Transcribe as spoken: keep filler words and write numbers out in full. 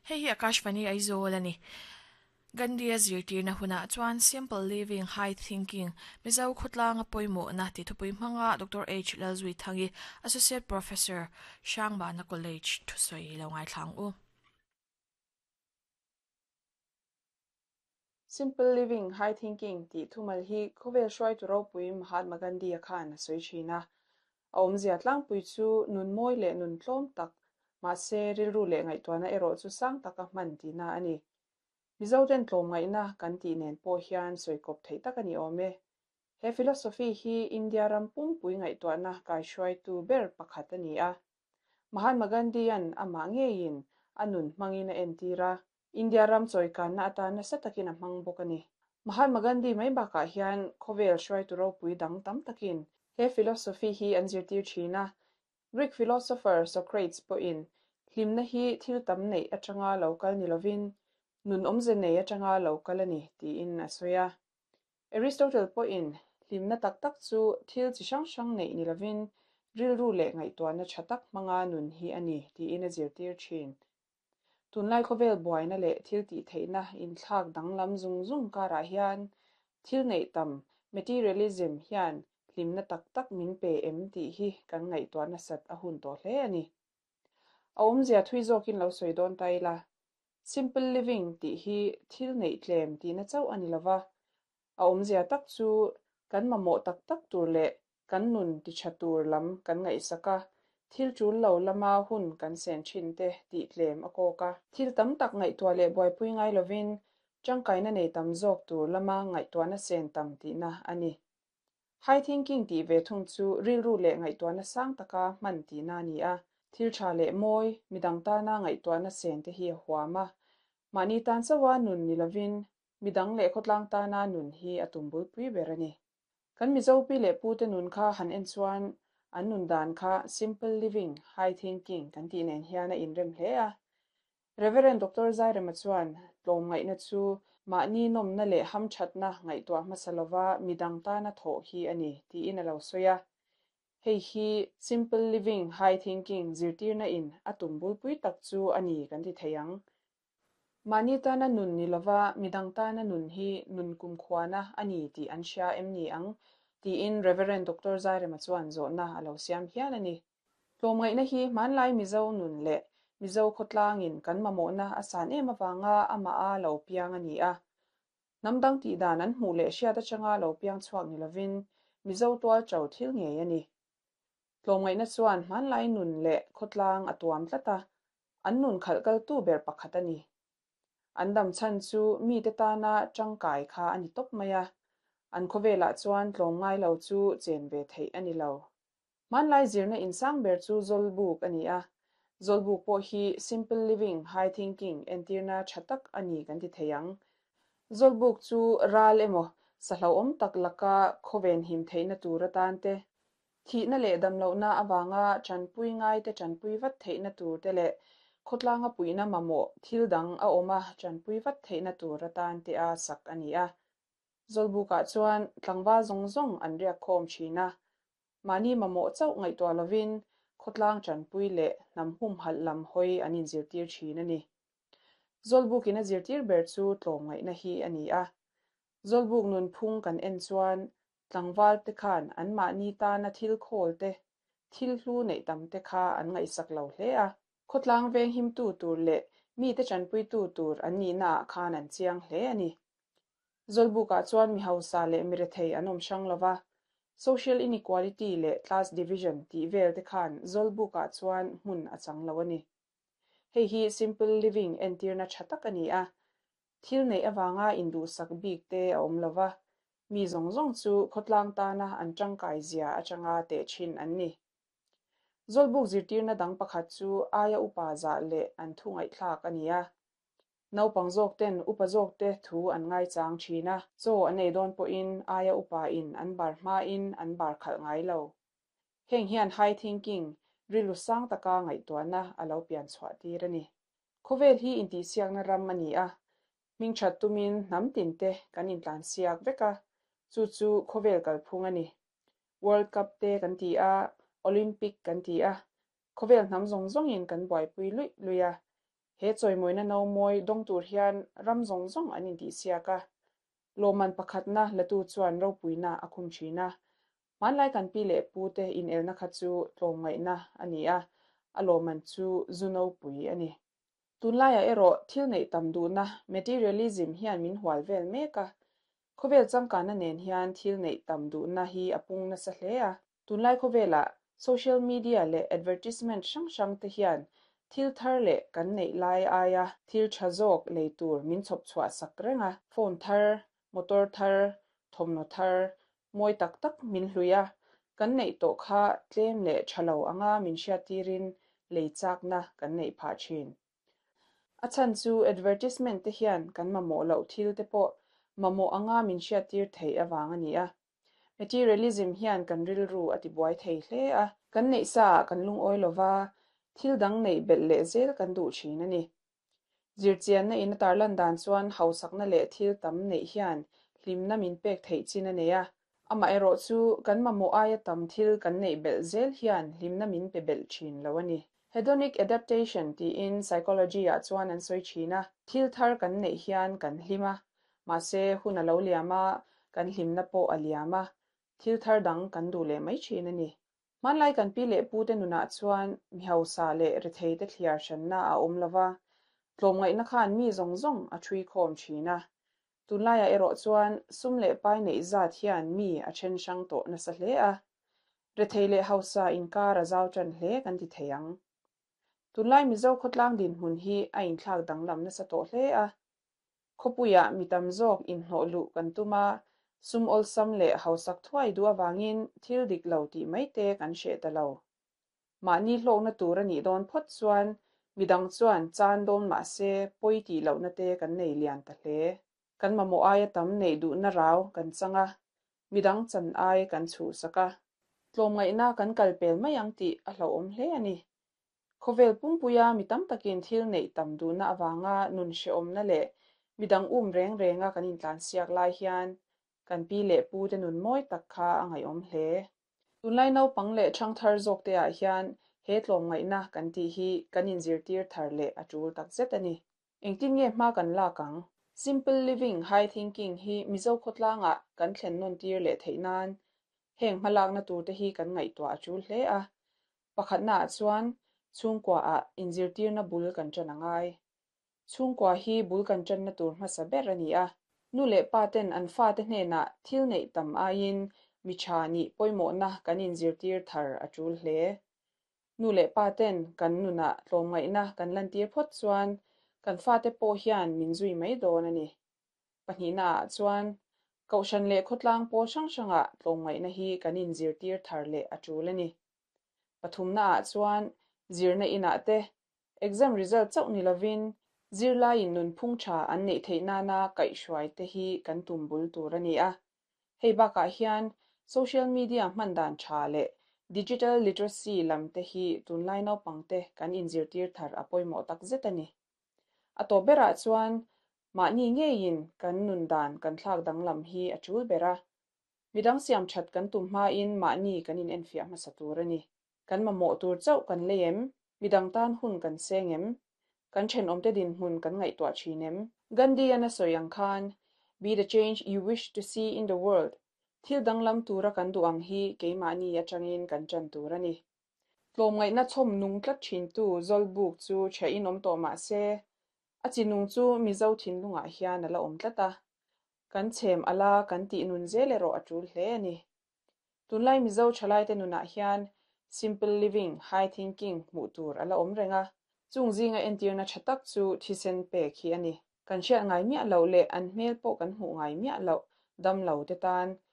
Hei hi Akashvani Aizawl ani. Gandhi a zirtirna hunah chuan Simple Living High Thinking Mizo khawtlanga pawimawh na ti thupui hmanga Doctor H Lalzuithangi Associate Professor Hrangbana College thusawi lo ngaithlang u. Simple Living High Thinking tih thumal hi khawvel hruaitu ropui Mahatma Gandhi a khan a sawi thin a. A awmzia tlangpui chu nun mawi leh nun tlawm tak mahse rilru leh ngaihtuahna erawh chu sang taka hman tihna a ni. Mizo ten tlawm ngaihna kan tih nen pawh hian sawikawp theih tak a ni awm e. He philosophy hi India ram pumpui ngaihtuahna kaihruaitu ber pakhat a ni a. Mahatma Gandhi-an amah ngeiin a nun hmangin a entir a. India ram chawikanna atan nasa takin a hmang bawk a ni. Mahatma Gandhi mai bakah hian khawvel hruaitu ropui dang tam takin he philosophy hi an zirtir thin a. Greek philosopher Socrates pawhin hlimna hi thil tam neih atanga lo kal ni lovin nun awmze nei atanga lo kal a ni tiin a sawi a. Aristotle pawhin hlimna tak tak chu thil chi hrang hrang neih ni lovin rilru leh ngaihtuahna tha tak hmanga nun hi a ni tiin a zirtir thin. Tunlai khawvel buaina leh thil tih theihna inthlak danglam zung zung karah hian thil neih tam materialism hian hlimna tak tak min pe em tih hi kan ngaihtuahna sat a hun tawh hle a ni. A awmzia thui zawkin lo sawi dawn ta ila. Simple living tih hi thil neih tlem tihna chauh a ni lova. A awmzia tak chu kan mamawh tak tak tur leh kan nun ti tha tur lam kan ngaihsak a. Thil tul lo lama hun kan sen thin te tih tlem a kawk a. Thil tam tak ngaihtuah leh buaipui ngai lovin tangkaina nei tam zawk tur lama ngaihtuahna sen tam tihna a ni. High thinking tih ve thung chu rilru leh ngaihtuahna sang taka hman tihna a ni a. Thil tha leh mawi midang tana ngaihtuahna sen te hi a huam a. Mahni tan chawa nun ni lovin midang leh khawtlang tana nun hi a tum bulpui ber a ni. Kan Mizo pi leh pu te nun kha han en chuan an nun dan kha simple living high thinking kan tih nen hian a inrem hle a. Reverend Doctor Zairema chuan tlawm ngaihna chu mahni nawmna leh hamthatna ngaihtuah hmasa lova midang tana thawh hi a ni tiin a lo sawi a. Hei hi simple living high thinking zirtirna in a tum bulpui tak chu a ni kan ti thei ang. Mahni tana nun ni lova midang tana nun hi nun kumkhuana a ni tih an hria em ni ang tiin Reverend Doctor Zairema chuan zawhna a lo siam hial a ni. Tlawm ngaihna hi hmanlai Mizo nun leh Mizo khawtlangin kan mamawhna a san em awanga amah a lo piang a ni a. Hnam dang tih dan an hmuh leh hriat atanga lo piang chhuak ni lovin Mizo tual to thil ngei a ni. Tlawm ngaihna chuan hmanlai nun leh khawtlang a tuam tlat a, an nun khalh kaltu ber pakhat a ni. An dam chhan chu mi te tana tangkai kha a ni tawp mai a. An khawvelah chuan tlawm ngai lo chu chen ve theih a ni lo. Hmanlai zirna insang ber chu Zawlbuk a ni a. Zawlbuk pawh hi simple living high thinking entirna tha tak a ni kan ti thei ang. Zawlbuk chu ral emaw sahlauhawm tak laka khawven him theihna tur atan te, thihna leh damlohna awanga tanpui ngai te tanpui vat theihna tur te leh khawtlanga puihna mamawh thil dang a awm a tanpui vat theihna tur atan te a sak a ni a. Zawlbukah chuan tlangval zawng zawng an riak khawm thin a. Mahni mamawh chauh ngaihtuah lovin khawtlang tanpui leh hnam humhalh lam hawi an inzirtir thin a ni. Zawlbukin a zirtir ber chu tlawm ngaihna hi a ni a. Zawlbuk nun phung kan en chuan tlangval te khan an mahni tana thil khawl te, thil hlu neih tam te kha an ngaihsak lo hle a. Khawtlang veng himtu tur leh mi te tanpuitu tur an nihna ah khan an chiang hle a ni. Zawlbukah chuan mi hausa leh mi rethei an awm hrang lova. Social inequality leh class division tih vel te khan Zawlbukah chuan hmun a chang lo a ni. Hei hi simple living entirna tha tak a ni a. Thil neih awanga induhsak bik te a awm lova. Mi zawng zawng chu khawtlang tana an tangkai zia atanga teh thin an ni. Zawlbuk zirtirna dang pakhat chu aia upa zah leh an thu ngaihthlak a ni a. Naupang zawk ten upa zawk te thu an ngai chang thin a. Chaw an ei dawn pawhin aia upa in an bar hmain an bar khalh ngai lo. Heng hian high thinking rilru sang taka ngaihtuahna a lo pian chhuah tir a ni. Khawvel hi intihsiakna ram a ni a. Hming that tumin hnam tin te kan intlan siak vek a. Chu chu khawvel kalphung a ni. World Cup te kan ti a, Olympic kan ti a. Khawvel hnam zawng zawngin kan buaipui luih luih a. He chawimawina no mawi dawng tur hian ram zawng zawng an intihsiak a. Lawmman pakhatna latu chuan ropuina a khum thin a. Hmanlai kan pi leh pu te inelna kha chu tlawmngaihna a ni a, a lawmman chu zu nopui a ni. Tunlaiah erawh thil neih tam duhna materialism hian min hual vel mek a. Khawvel changkanna nen hian thil neih tam duhna hi a pung nasa hle a. Tunlai khawvelah social media leh advertisement hrang hrang te hian thil thar leh kan neih lai aia thil tha zawk lei tur min chhawp chhuah sak reng a. Phone thar, motor thar, thawmhnaw thar, mawi tak tak min hlui a. Kan neih tawh kha tlem leh tha lo anga min hriat tirin lei chakna kan neih phah thin. A chhan chu advertisement te hian kan mamawh loh thil te pawh mamawh anga min hriat tir theih awang a ni a. Materialism hian kan rilru a tibuai thei hle a. Kan neih sa ah kan lungawi lova, thil dang neih belh leh zel kan duh thin a ni. Zirchianna in a tarlan dan chuan hausakna leh thil tam neih hian hlimna min pek theih chin a nei a. Amah erawh chu kan mamawh aia tam thil kan neih belh zel hian hlimna min pe belh thin lo a ni. Hedonic adaptation tiin psychology ah chuan an sawi thin a. Thil thar kan neih hian kan hlim a. Mahse hun a lo liam a, kan hlimna pawh a liam a. Thil thar dang kan duh leh mai thin a ni. Hmanlai kan pi leh pu te nunah chuan mi hausa leh rethei te thliar hranna a awm lova. Tlawmngaihna khan mi zawng zawng a thui khawm thin a. Tunlaiah erawh chuan sum leh pai neih zat hian mi a then hrang tawh nasa hle a. Rethei leh hausa inkar a zau tan hle kan ti thei ang. Tunlai Mizo khawtlang dinhmun hi a inthlak danglam nasa tawh hle a. Khawpuiah mi tam zawk inhnawh luh kan tum a, sum awlsam leh hausak thuai duh awangin thil dik lo tih mai te kan hreh ta lo. Mahni hlawkna tur a nih dawn phawt chuan midang chuan chan dawn mahse pawi tih lohna te kan nei lian ta hle. Kan mamawh aia tam neih duhna rau kan chang a, midang chan ai kan chhuhsak a. Tlawmngaihna kan kal pel mai ang tih a hlauhawm hle a ni. Khawvel pumpuia mi tam takin thil neih tam duhna awanga nun hrehawmna leh midang um reng renga kan intlansiak lai hian kan pi leh pu te nun mawi tak kha a ngaihawm hle. Tunlai naupang leh ṭhang thar zawk te ah hian he tlawmngaihna kan tih hi kan inzirtir thar leh a ṭul tak zet a ni. Engtin nge hma kan lak ang? Simple living, high thinking hi Mizo khawtlangah kan thlen nawn tir leh theih nan heng hmalakna tur te hi kan ngaihtuah a ṭul hle a. Pakhatna ah chuan chhungkua ah inzirtirna bul kan ṭan a ngai. Chhungkua hi bul kan ṭanna tur hmasa ber a ni a. Nu leh pa ten an fa te hnenah thil neih tam aiin mi tha nih pawimawhna kan inzirtir thar a ṭul hle. Nu leh pa ten kan nunah tlawmngaihna kan lantir phawt chuan kan fa te pawh hian min zui mai dawn a ni. Pahnihna ah chuan kohhran leh khawtlang pawl hrang hrangah tlawmngaihna hi kan inzirtir thar leh a ṭul a ni. Pathumna ah chuan zirna inah te exam result chauh ni lovin zirlaiin nunphung tha an neih theih nana kaihhruai te hi kan tum bul tur a ni a. Hei bakah hian social media hman dan tha leh digital literacy lam te hi tunlai naupang te kan inzirtir thar a pawimawh tak zet a ni. A tawp berah chuan mahni ngeiin kan nun dan kan thlak danglam hi a ṭul ber a. Midang siam that kan tum hmain mahni kan in enfiah hmasa tur a ni. Kan mamawh tur chauh kan lei em? Midang tan hun kan seng em? Kan thenawm te dinhmun kan ngaihtuah thin em? Gandhi-an a sawi ang khan, Be the change you wish to see in the world. Thil danglam tura kan duh ang hi keimahni atangin kan ṭan tur a ni. Tlawmngaihna chhawm nung tlat thin tu Zawlbuk chu ṭhiahin awm tawh mahse, a chinung chu Mizo thinlungah hian a la awm tlat a. Kan chhem ala kan tih nun zel erawh a ṭul hle a ni. Tunlai Mizo ṭhalai te nunah hian simple living, high thinking hmuh tur a la awm reng a. Chung zinga entirna ṭha tak chu thisen pek hi a ni. Kan hriat ngai miah loh leh an hmel pawh kan hmuh ngai miah loh dam lo te tan